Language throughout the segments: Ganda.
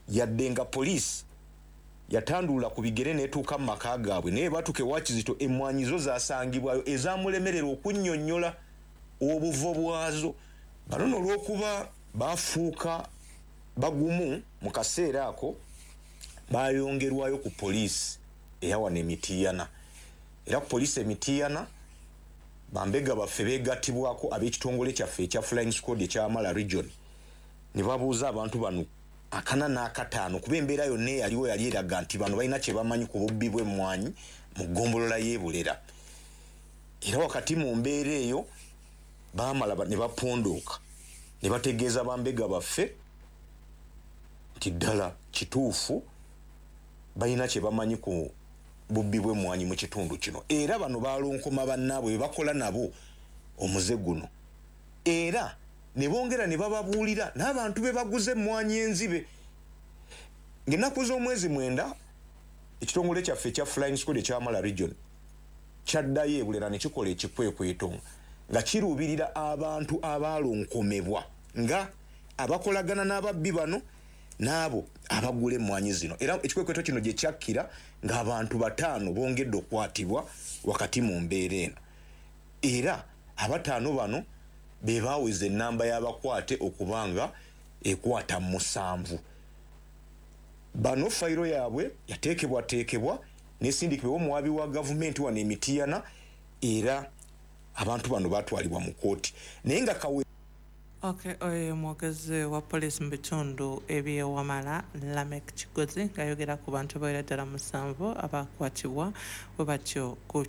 Yadde nga poliisi yatandulula ku bigere n'etuuka mu maka gaabwe, naye batuuka ewa Kizito emmwanyi zo zasangibwayo ezamulemerera okunnyonnyola obuvo bwazo. Bano nno olw'okuba baafuuka bagumu mu kaseera ako, baayongerwayo ku poliisi eya wano e Mityana. Era ku poliisi e Mityana, bambega baffe beegattibwako ab'ekitongole kyaffe ekya Flying Squad ekya Wamala Region ne babuuza abantu bano akana n'akataano kuba embeera yonna eyaliwo yali eraga nti bano balina kye bamanyi ku bubbi bw'emmwanyi mu ggombolola y'e Bulera. Era wakati mu mbeera eyo baamala ne bapondooka ne bategeeza bambega baffe nti ddala kituufu balina kye bamanyi ku bubbi bw'emmwanyi mu kitundu kino. Era bano balonkoma bannaabwe be bakola nabo omuze guno, era ne bongera ne bababuulira n'abantu be baguze emmwanyi enzibe. Ng'ennaku z'omwezi 9, ekitongole kyaffe ekya Flying Squad ekya Wamala Region kyaddayo e Bulera ne kikola ekikwekweto nga kiruubirira abantu abaalonkomebwa nga abakolagana n'ababbi bano n'abo abagula emmwanyi zino. Era ekikwekweto kino gye kyakkira ng'abantu 5 bongedde okukwatibwa wakati mu mbeera eno. Era abataano bano be baaweza ennamba y'abakwate okuba nga ekwata 7. Bano fayiro yaabwe yateekebwateekebwa n'esindikibwa omuwaabi wa gavumenti wano e Mityana, era abantu bano baatwalibwa mu kkooti naye nga kawe. Okay, oyo mwogezi wa poliisi mu bitundu eby'e Wamala, Lamek Kigozi, ng'ayogera ku bantu bawera ddala 7 abakwatibwa bwe batyo ku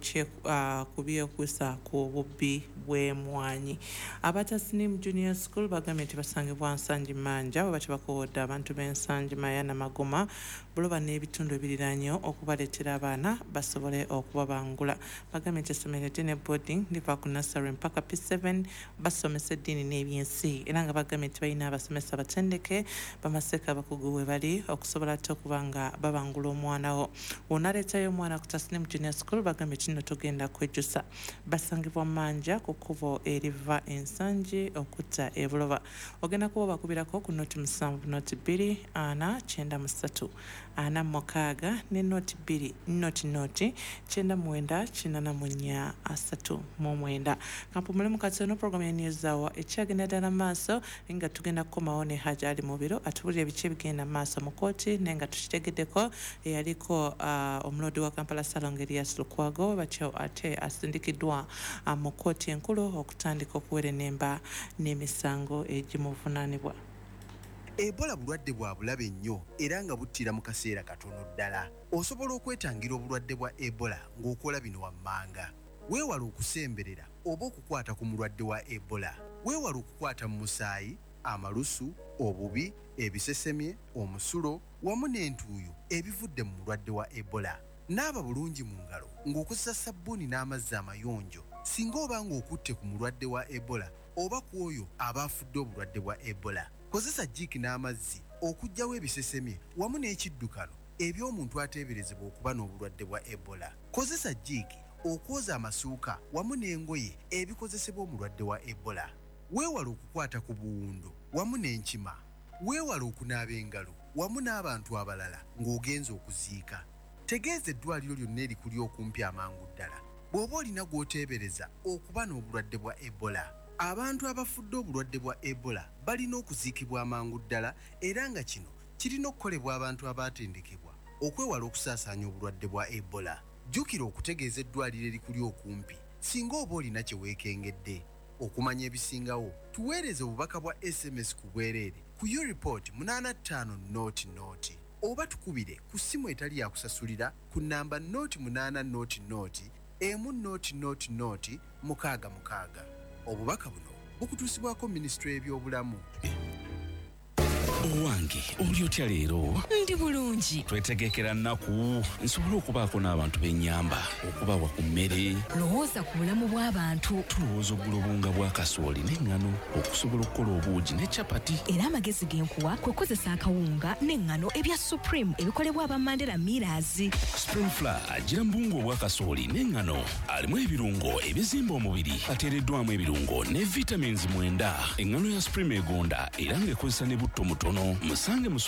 byekuusa ku bubbi bw'emmwanyi. Aba Tasnim Junior School bagambye nti basangibwa Nsangi Manja. Bwe batyo bakoowodde abantu b'Ensangi, Maya, Namagoma, Buloba n'ebitundu ebiriraanyewo okubaleetera abaana basobole okubabangula. Bagambye nti essomero eddene boarding liva ku nursery mpaka P7, basomesa eddiini n'ebyensi, era nga bagambye nti balina abasomesa batendeke bamaseeka abakugu we bali okusobola ate okuba nga babangula omwana wo. Wonaleetayo omwana ku Tasnim Junior School, bagambye kino togenda kwejjusa. Basangibwa Manja ku kkubo eriva Ensangi okutta e Buloba. Ogenda kuba bakubirako ku 0 7 0 2 4 93 46 ne 0 2 0 0 99 84 39. Kampumule mu katono. Program ya News Hour ekyagenda ddala maaso, nga tugenda kukomawo ne Haji Ali Mubiro atubulira ebiki ebigenda maaso mu kooti, naye nga tukitegeddeko eyaliko omuloodi wa Kampala Ssalongo Erias Lukwago batyo ate asindikiddwa mu kooti enkulu okutandika okuwerenemba n'emisango egimuvunaanibwa. Ebola bulwadde bwa bulabe nnyo era nga buttira mu kaseera katono ddala. Osobola okwetangira obulwadde bwa Ebola ng'okola bino wammanga: weewala okusemberera oba okukwata ku mulwadde wa Ebola. Weewala okukwata mu musaayi, amalusu, obubi, ebisesemye, omusulo wamu n'entuuyo ebivudde mu mulwadde wa Ebola. Naaba bulungi mu ngalo ng'okozesa sabbuuni n'amazzi amayonjo singa oba ng'okutte ku mulwadde wa Ebola oba ku oyo aba afudde obulwadde bwa Ebola. Kozesa jiiki n'amazzi okuggyawo ebisesemye wamu n'ekiddukano eby'omuntu ateeberezebwa okuba n'obulwadde bwa Ebola. Kozesa jiiki okwoza amasuuka wamu n'engoye ebikozesebwa omulwadde wa Ebola. Weewale okukwata ku buwundo wamu n'enkima. Weewale okunaaba engalo wamu n'abantu abalala ng'ogenza okuziika. Tegeeza eddwaliro lyonna erikuli okumpi amangu ddala bw'oba olina gw'oteebereza okuba n'obulwadde bwa Ebola. Abantu abafudde obulwadde bwa Ebola balina okuziikibwa amangu ddala, era nga kino kirina okukolebwa abantu abaatendekebwa okwewala okusaasaanya obulwadde bwa Ebola. Jjukira okutegeeza eddwaliro erikuli okumpi singa oba olina kye weekengedde. Okumanya ebisingawo, tuweereze obubaka bwa SMS ku bwereere ku Ureport 85 00 oba tukubire ku ssimu etali yakusasulira ku namba 08 00 1 00 66. Obubaka buno bukutuusibwako Minisitule y'Ebyobulamu. Owange, oli otya leero? Ndi bulungi. Twetegekera nnaku nsobole okubaako n'abantu b'ennyamba okubawa ku mmere. Lowooza ku bulamu bw'abantu. Tulowooza okugula obuwunga bwa kasooli n'eŋŋano okusobola okukola obuugi ne capati. Era amagezi ge nkuwa kwe kukozesa akawunga n'eŋŋano ebya Supreme ebikolebwa aba Mandela Millers. Supreme Flour agira mu buwunga obwa kasooli n'eŋŋano, alimu ebirungo ebizimba omubiri, ateereddwamu ebirungo ne vitamins 9. Eŋŋano ya Supreme egonda era ng'ekozesa ne butto mutono. Musange mu.